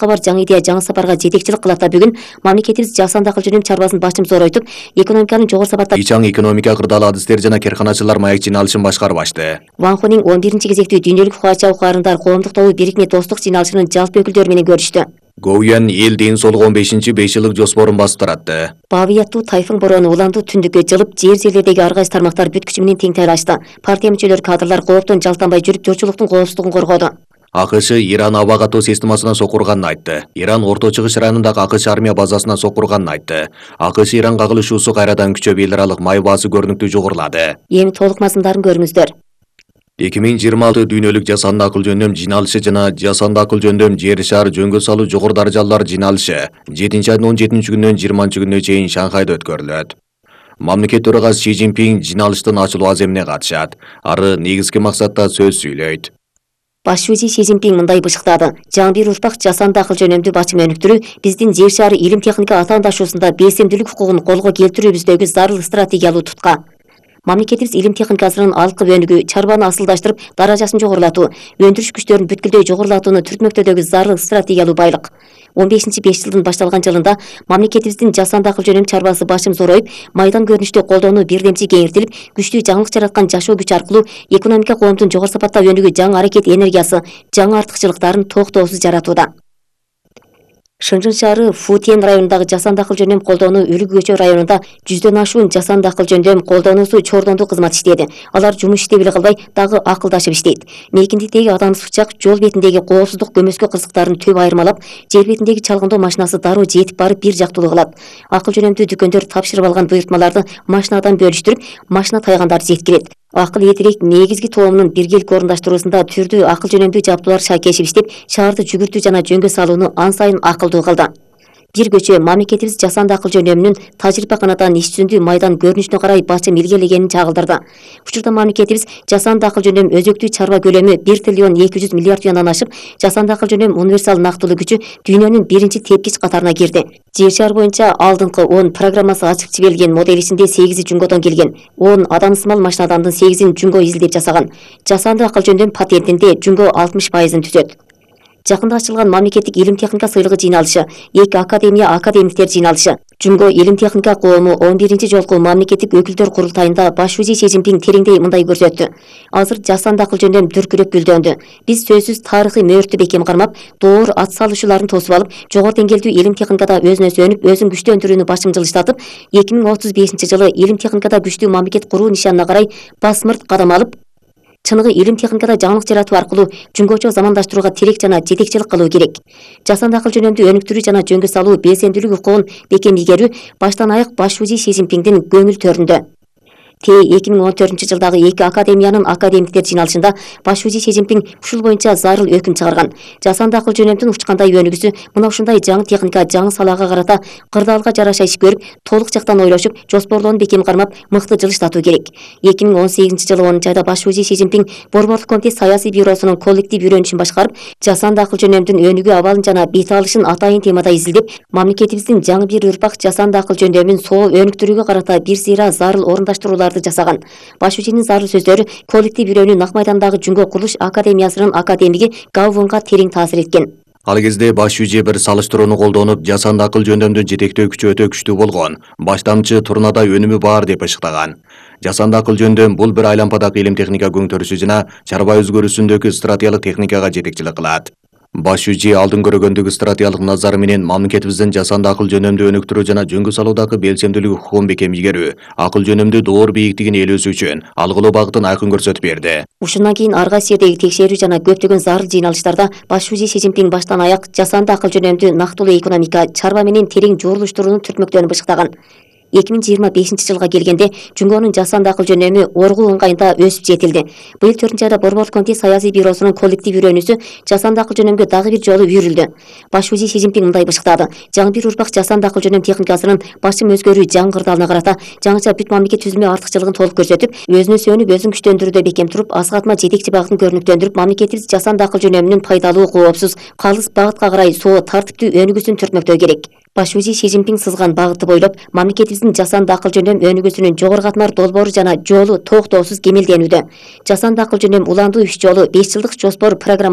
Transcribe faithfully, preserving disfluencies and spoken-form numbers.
бар жаңы идея жаңы сапарга жетекчилик кылат да бүгүн мамлекетибиз жасанды акыл жөнүндө чарбасын башым зоройтуп, экономиканын жогору сапатта ичаң экономика кырдаал адистер жана керканачылар маек жыйналышын башкарып ачты. Ван Хунин он биринчи кезектүү дүйнөлүк Хуача укугарындар коомдук тобу бирикме достук жыйналышынын жалпы өкүлдөрү менен көрүштү. Гоуян эл ден соолугу он бешинчи беш жылдык жоспорун басып таратты. Бабияттуу тайфун бороону уланду түндүккө жылып, жер жерлердеги ар кайсы тармактар бүт күчү менен тең тайлашты. Партия мүчөлөрү кадрлар кооптон жалтанбай жүрүп, журтчулуктун коопсуздугун коргоду. АКШ Иран аба катоо системасына сокурганын айтты. Иран Орто Чыгыш районундагы АКШ армия базасына сокурганын айтты. АКШ Иран кагылышуусу кайрадан күчөп, эл аралык май баасы көрүнүктүү жогорулады. Эми толук мазмундарын көрүңүздөр. эки миң жыйырма алты дүйнөлүк жасанды акыл жөндөм жыйналышы жана жасанды акыл жөндөм жер шаар жөнгө салуу жогору даражалуулар жыйналышы жетинчи айдын он жетинчи күнүнөн жыйырманчы күнүнө чейин Шанхайда өткөрүлөт. Мамлекет төрагасы Си Цзиньпин жыйналыштын ачылуу аземине катышат. Ары негизги максатта сөз сүйлөйт. Баш шүүжи Си Цзиньпин мындай бышыктады. Жаңы бир урпак жасанды акыл жөнүндө бачым өнүктүрүү биздин жер шаары илим техника атаандашуусунда белсемдүүлүк укугун колго келтирүүбүздөгү зарыл стратегиялуу тутка. Мамлекетибиз илим техникасынын алкы өнүгүү, чарбаны асылдаштырып, даражасын жогорулатуу, өндүрүш күчтөрүн бүткүлдөй жогорулатууну түртмөктөдөгү зарыл стратегиялуу байлык. он бешинчи беш жылдын башталган жылында мамлекетибиздин жасанды акыл жөнүндө чарбасы башым зороюп, майдан көрүнүштө колдоону бирдемчи кеңейтилип, күчтүү жаңылык жараткан жашоо күч аркылуу экономика коомдун жогору сапатта өнүгүү жаңы аракет энергиясы, жаңы артыкчылыктарын токтоосуз жаратууда. Шыңжың шаары Футен районундагы жасанды акыл жөндөм колдоону Үлгү көчө районунда жүздөн ашуун жасанды акыл жөндөм колдоонусу чордондуу кызмат иштеди. Алар жумуш иштеп эле калбай, дагы акылдашып иштейт. Мейкиндиктеги адамсыз учак жол бетиндеги коопсуздук көмөскө кырсыктарын төп айырмалап, жер бетиндеги чалгындоо машинасы дароо жетип барып бир жактуулуу кылат. Акыл жөнөмдүү дүкөндөр тапшырып алган буйртмаларды машинадан бөлүштүрүп, машина тайгандарды жеткирет. Акыл этирек негизги тоомунун биргеликке орундаштыруусунда түрдүү акыл жөнөмдүү жабдуулар шайкешип иштеп, шаарды жүгүртүү жана жөнгө салууну ан сайын акылдуу кылды. Бир көчө мамлекетибиз жасанды акыл жөнөмүнүн тажрыйба канатан иш жүзүндө майдан көрүнүшүнө карай бачым илгерилегенин чагылдырды. Учурда мамлекетибиз жасанды акыл жөнөм өзөктүү чарба көлөмү бир триллион эки жүз миллиард юандан ашып, жасанды акыл жөнөм универсал нактылуу күчү дүйнөнүн биринчи тепкич катарына кирди. Жер шаар боюнча алдыңкы он программасы ачык жиберилген модель ичинде сегизи жүнгөдөн келген. он адамсымал машинадандын сегизин жүнгө изилдеп жасаган. Жасанды акыл жөнөм патентинде жүнгө алтымыш пайызын түзөт. Жакында ачылган мамлекеттик илим техника сыйлыгы жыйналышы, эки академия академиктер жыйналышы, Жүнгө илим техника коому он биринчи жолку мамлекеттик өкүлдөр курултайында баш шүүжи Си Цзиньпин тереңдей мындай көрсөттү. Азыр жасанды акыл жөндөм дүркүрөп гүлдөндү. Биз сөзсүз тарыхый мөөртү бекем кармап, доор ат салуучуларын тосуп алып, жогору деңгээлдүү илим техникада өзүнө сөнүп, өзүн күчтөндүрүүнү башым жылыштатып, эки миң отуз бешинчи жылы илим техникада күчтүү мамлекет куруу нишанына карай басмырт кадам алып, чыныгы илим техникада жаңылык жаратуу аркылуу жүнгөчө замандаштырууга тирек жана жетекчилик кылуу керек. Жасанды акыл жөнөмдүү өнүктүрүү жана жөнгө салуу белсемдүүлүк укугун бекем ийгерүү баштан аяк баш шүүжи Си Цзиньпиндин көңүл төрүндө. Те эки миң он төртүнчү жылдагы эки академиянын академиктер жыйналышында баш шүүжи Си Цзиньпин ушул боюнча зарыл өкүм чыгарган. Жасанды акыл жөнөмдүн учкандай өнүгүүсү мына ушундай жаңы техника, жаңы салаага карата кырдаалга жараша иш көрүп, толук жактан ойлошуп, жоспорлоону бекем кармап, мыкты жылыштатуу керек. эки миң он сегизинчи жылы онунчу айда баш шүүжи Си Цзиньпин Борборлук комитет саясий бюросунун коллектив үйрөнүшүн башкарып, жасанды акыл жөнөмдүн өнүгүү абалын жана бет алышын атайын темада изилдеп, мамлекетибиздин жаңы бир урпак жасанды акыл жөндөмүн соо өнүктүрүүгө карата бир сыйра зарыл орундаштрууларды жасаган. Баш шүүжинин зарыл сөздөрү коллектив үйрөнүү Нак майдандагы Жүнгө курулуш академиясынын академиги Гаувонго терең таасир эткен. Ал кезде баш шүүжи бир салыштырууну колдонуп, жасанды акыл жөндөмдү жетектөө күчү өтө күчтүү болгон, баштамчы турнада өнүмү бар деп ышыктаган. Жасанды акыл жөндөм бул бир айлампадагы илим техника көңтөрүшү жана чарба өзгөрүүсүндөгү стратегиялык техникага жетекчилик кылат. Баш шүүжи алдын көргөндөгү стратегиялык назары менен мамлекетибиздин жасанды акыл жөнөмдү өнүктүрүү жана жөнгө салуудагы белсемдүүлүк укугун бекем ийгерүү, акыл жөнөмдү доор бийиктигин ээлөөсү үчүн алгылоо багытын айкын көрсөтүп берди. Ушундан кийин ар кайсы жердеги текшерүү жана көптөгөн зарыл жыйналыштарда баш шүүжи Си Цзиньпин баштан аяк жасанды акыл жөнөмдү нактылуу экономика, чарба менен терең журулуштурууну түртмөктөнүп бышыктаган. эки миң жыйырма бешинчи жылга келгенде Жүнгөнүн жасанды акыл жөнөмү оргуу ыңгайында өсүп жетилди. Быйыл төртүнчү айда Борборлук комитет саясий бюросунун коллектив үйрөнүүсү жасанды акыл жөнөмгө дагы бир жолу үйрүлдү. Баш шүүжи Си Цзиньпин мындай бышыктады. Жаңы бир урпак жасанды акыл жөнөм техникасынын башым өзгөрүү жаңы кырдаалына карата жаңыча бүт мамлекет түзүмө артыкчылыгын толук көрсөтүп, өзүнө сөнүп, өзүн күчтөндүрүүдө бекем туруп, асыгатма жетекчи багытын көрүнүктөндүрүп, мамлекетибиз жасанды акыл жөнөмүнүн пайдалуу, коопсуз, калыс багытка карай соо тартиптүү өнүгүүсүн түртмөктөө керек. Баш шүүжи Си Цзиньпин сызган багытты бойлоп, мамлекетибиздин жасанды акыл жөнөм өнүгүүсүнүн жогору катмар долбоору жана жолу токтоосуз кемелденүүдө. Жасанды акыл жөнөм уландуу үч жолу беш жылдык жоспор программа